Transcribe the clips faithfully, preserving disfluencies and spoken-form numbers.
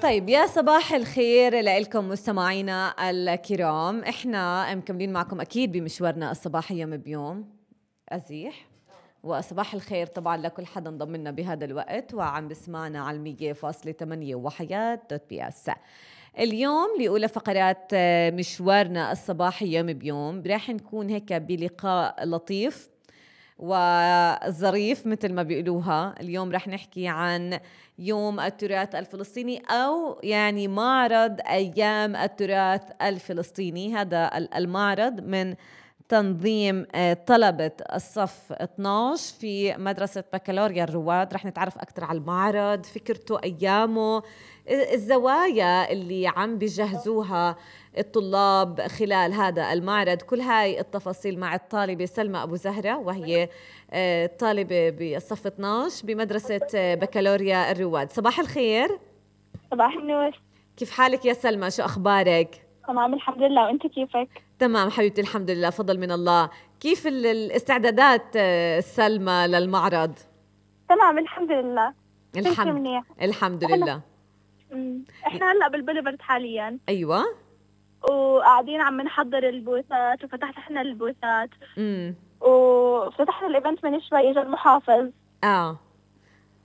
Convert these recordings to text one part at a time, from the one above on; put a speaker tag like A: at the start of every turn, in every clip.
A: طيب يا صباح الخير لكم مستمعينا الكرام. احنا مكملين معكم اكيد بمشوارنا الصباحي يوم بيوم أزيح، وصباح الخير طبعا لكل حدا انضم لنا بهذا الوقت وعم بسمعنا على المية فاصلة ثمانية وحياة دوت بي اس. اليوم لأولى فقرات مشوارنا الصباحي يوم بيوم راح نكون هيك بلقاء لطيف وظريف مثل ما بيقولوها. اليوم رح نحكي عن يوم التراث الفلسطيني، أو يعني معرض أيام التراث الفلسطيني. هذا المعرض من تنظيم طلبة الصف اثناشر في مدرسة بكالوريا الرواد. رح نتعرف أكثر على المعرض، فكرته، أيامه، الزوايا اللي عم بيجهزوها الطلاب خلال هذا المعرض. كل هاي التفاصيل مع الطالبة سلمى أبو زهرة، وهي طالبة بالصف اثناشر بمدرسة بكالوريا الرواد. صباح الخير.
B: صباح النور.
A: كيف حالك يا سلمى؟ شو أخبارك؟
B: تمام الحمد لله، وانت كيفك؟
A: تمام حبيبتي الحمد لله، فضل من الله. كيف الاستعدادات سلمى للمعرض؟
B: تمام الحمد لله.
A: الحمد الحمد لله.
B: امم احنا هلا بالبوليفرد حاليا.
A: ايوه.
B: وقاعدين عم نحضر البوثات وفتحنا البوثات.
A: امم
B: وفتحنا الايفنت من شوي، اجى المحافظ.
A: اه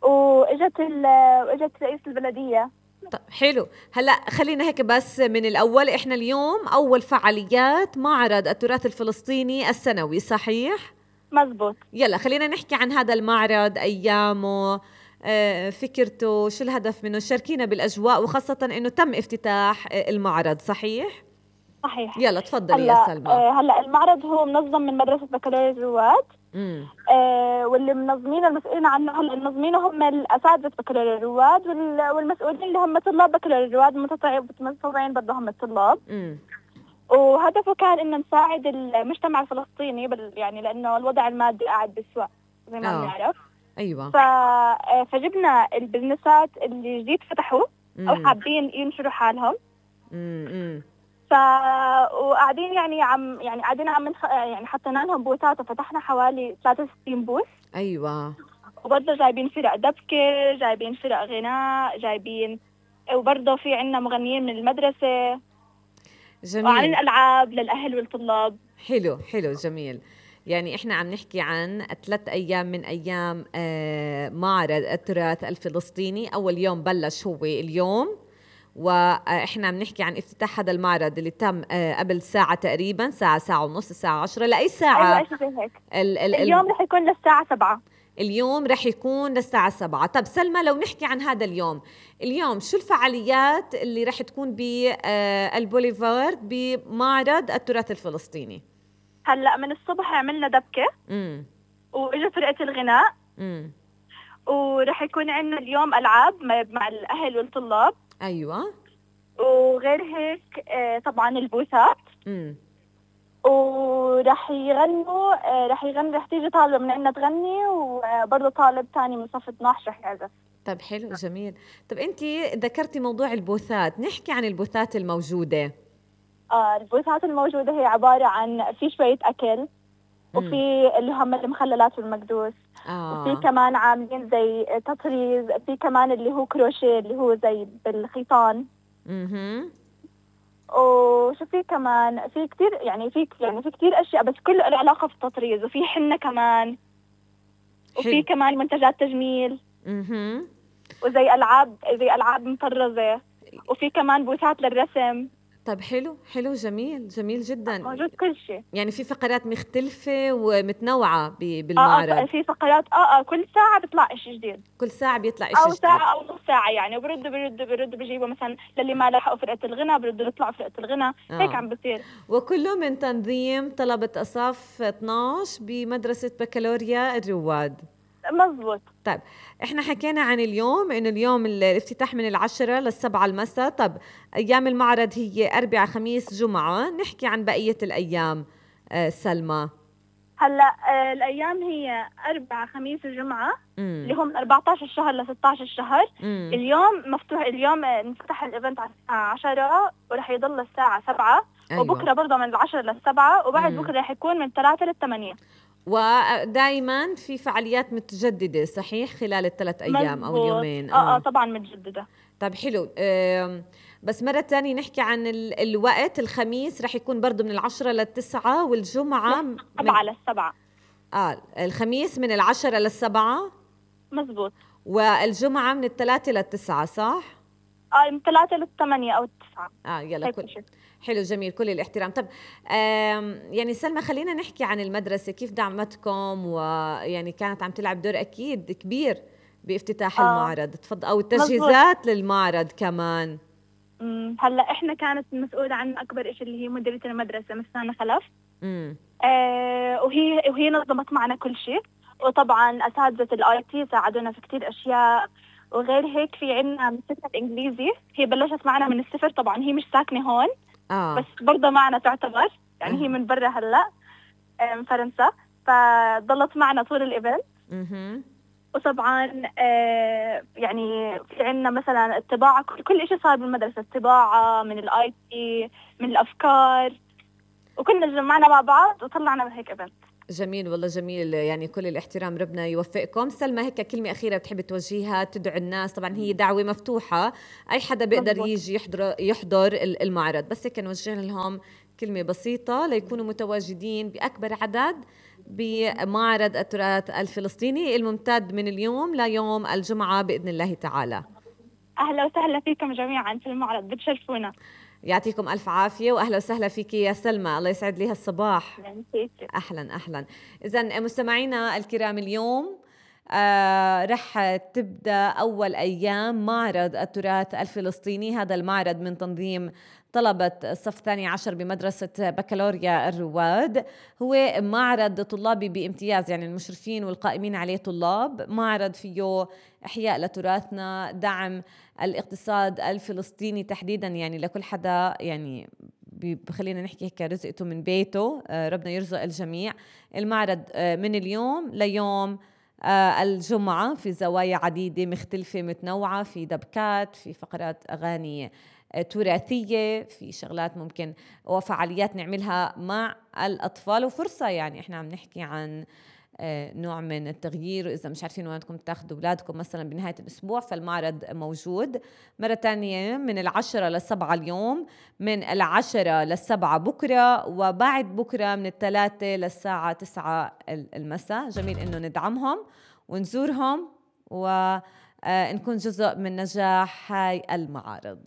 B: واجت واجت رئيس البلديه.
A: طيب حلو. هلا خلينا هيك بس من الاول، احنا اليوم اول فعاليات معرض التراث الفلسطيني السنوي، صحيح؟
B: مزبوط.
A: يلا خلينا نحكي عن هذا المعرض، ايامه، آه، فكرته، شو الهدف منه. شاركينا بالاجواء، وخاصه انه تم افتتاح المعرض، صحيح؟
B: صحيح.
A: يلا تفضلي يا سلمى.
B: آه هلا المعرض هو منظم من مدرسه بكالوريا الرواد.
A: امم
B: آه واللي منظمين المسؤولين عنه هلا منظمينه هم الاساتذه بكالوريا الرواد، والمسؤولين اللي هم طلاب بكالوريا الرواد متطوعين برضه هم الطلاب.
A: امم
B: وهدفه كان انه نساعد المجتمع الفلسطيني بال يعني لانه الوضع المادي قاعد بسوء زي ما بنعرف.
A: ايوه.
B: ف... فجبنا البزنسات اللي جديد فتحوا او
A: مم.
B: حابين ينشروا حالهم.
A: امم
B: ف وقاعدين يعني عم يعني قاعدين عم نخ... يعني حطينا لهم بوثات، وفتحنا حوالي ثلاثة وستين بوث.
A: ايوه.
B: وبرضه جايبين فرق دبكه، جايبين فرق غناء، جايبين وبرضه في عندنا مغنيين من المدرسه.
A: جميل.
B: وعن الالعاب للاهل والطلاب.
A: حلو حلو جميل. يعني احنا عم نحكي عن ثلاث ايام من ايام آه معرض التراث الفلسطيني. اول يوم بلش هو اليوم، واحنا عم نحكي عن افتتاح هذا المعرض اللي تم آه قبل ساعة تقريبا، ساعة ساعة ونص، الساعة عشرة. لأي ساعة؟
B: أيوة زي هيك.
A: ال ال
B: اليوم رح يكون للساعة سبعة.
A: اليوم رح يكون للساعة سبعة. طب سلمى، لو نحكي عن هذا اليوم، اليوم شو الفعاليات اللي رح تكون بالبوليفارد بمعرض التراث الفلسطيني؟
B: هلا من الصبح عملنا دبكة.
A: امم
B: واجا فرقة الغناء.
A: امم
B: ورح يكون عندنا اليوم ألعاب مع الأهل والطلاب.
A: ايوه.
B: وغير هيك آه طبعا البوثات.
A: امم
B: ورح يغنوا آه رح يغني رح تيجي طالبة من عندنا تغني، وبرضه طالب ثاني من صف اثناشر رح يعزف.
A: طيب حلو جميل. طب انت ذكرتي موضوع البوثات، نحكي عن البوثات الموجودة.
B: آه البوثات الموجودة هي عبارة عن في شوية أكل، وفي اللي هم المخللات والمكدوس.
A: آه.
B: وفي كمان عاملين زي تطريز، في كمان اللي هو كروشيه اللي هو زي بالخيطان.
A: اها.
B: وشو في كمان، في كتير يعني في يعني في كتير اشياء، بس كله له علاقه في التطريز. وفي حنه كمان. وفي
A: حلو.
B: كمان منتجات تجميل.
A: اها.
B: وزي العاب زي العاب مطرزه. وفي كمان بوثات للرسم.
A: طيب حلو حلو جميل جميل جدا.
B: موجود كل شيء.
A: يعني في فقرات مختلفة ومتنوعة بالمعرض.
B: اه في فقرات اه اه كل ساعة بيطلع شيء جديد.
A: كل ساعة بيطلع شيء
B: جديد.
A: أو
B: ساعة أو نص ساعة يعني، وبردوا بردوا بردوا بيجيبوا مثلا للي ما لحقوا فرقة الغناء بردوا يطلعوا فرقة الغناء. آه. هيك عم بصير.
A: وكله من تنظيم طلبة أصف اثناشر بمدرسة بكالوريا الرواد.
B: مزبوط.
A: طيب احنا حكينا عن اليوم انه اليوم الافتتاح من العشرة للسبعة المساء. طب ايام المعرض هي اربعاء خميس جمعة، نحكي عن بقية الايام. آه سلمى.
B: هلا آه الايام هي اربعاء خميس وجمعة.
A: مم.
B: اللي هم من أربعة عشر الشهر ل ستة عشر الشهر.
A: مم.
B: اليوم مفتوح، اليوم انفتح الايفنت على الساعة عشرة ورح يضل الساعة سبعة. أيوة. وبكرة برضه من العشرة للسبعة، وبعد مم. بكرة رح يكون من ثلاثة للثمانية.
A: ودائما في فعاليات متجددة صحيح خلال الثلاث أيام أو اليومين؟
B: آه, آه طبعا متجددة.
A: طيب حلو. بس مرة تانية نحكي عن ال- الوقت. الخميس رح يكون برضو من العشرة للتسعة، والجمعة
B: من
A: من
B: سبعة للسبعة.
A: آه الخميس من العشرة للسبعة
B: مزبوط.
A: والجمعة من الثلاثة للتسعة صح؟
B: آه من ثلاثة للثمانية أو التسعة.
A: آه يلا كل حلو جميل كل الاحترام. طب يعني سلمى خلينا نحكي عن المدرسة، كيف دعمتكم ويعني كانت عم تلعب دور أكيد كبير بافتتاح آه. المعرض، تفضل أو التجهيزات مزبوط. للمعرض كمان.
B: هلا إحنا كانت المسؤولة عن أكبر إشي اللي هي مديرة المدرسة مسانا خلف.
A: امم
B: آه وهي وهي نظمت معنا كل شيء، وطبعا أساتذة الآي تي ساعدونا في كتير أشياء. وغير هيك في عنا مدرسة الإنجليزي، هي بلشت معنا من الصفر، طبعا هي مش ساكنة هون
A: آه.
B: بس برضه معنا تعتبر يعني آه. هي من برا هلا من فرنسا، فضلت معنا طول الإيفنت.
A: اها
B: وطبعا آه يعني في عنا مثلا الطباعة، كل إشي صار بالمدرسة، الطباعة من الآي تي من الأفكار، وكنا جمعنا مع بعض وطلعنا بهيك إيفنت.
A: جميل والله جميل، يعني كل الاحترام، ربنا يوفقكم. سلمى هيك كلمة أخيرة بتحب توجهيها تدعو الناس؟ طبعا هي دعوة مفتوحة، أي حدا بيقدر مزبوط. يجي يحضر يحضر المعرض، بس هيك نوجه لهم كلمة بسيطة ليكونوا متواجدين بأكبر عدد بمعرض التراث الفلسطيني الممتد من اليوم ليوم الجمعة بإذن الله تعالى.
B: أهلا وسهلا فيكم جميعا في المعرض، بتشرفونا.
A: يعطيكم ألف عافية وأهلا وسهلا فيك يا سلمى، الله يسعد لي هالصباح. أهلا أهلا. إذن مستمعينا الكرام، اليوم آه رح تبدأ أول أيام معرض التراث الفلسطيني. هذا المعرض من تنظيم طلبة الصف الثاني عشر بمدرسة بكالوريا الرواد. هو معرض طلابي بامتياز، يعني المشرفين والقائمين عليه طلاب. معرض فيه إحياء لتراثنا، دعم الاقتصاد الفلسطيني تحديدا، يعني لكل حدا يعني بخلينا نحكي هيك رزقته من بيته، ربنا يرزق الجميع. المعرض من اليوم ليوم الجمعة في زوايا عديدة مختلفة متنوعة، في دبكات، في فقرات أغاني تراثية، في شغلات ممكن وفعاليات نعملها مع الأطفال، وفرصة يعني إحنا عم نحكي عن نوع من التغيير. وإذا مش عارفين وين بدكم تاخدوا أولادكم مثلا بنهاية الأسبوع، فالمعرض موجود. مرة تانية من العشرة للسبعة اليوم، من العشرة للسبعة بكرة، وبعد بكرة من الثلاثة للساعة تسعة المساء. جميل إنه ندعمهم ونزورهم ونكون جزء من نجاح هاي المعارض.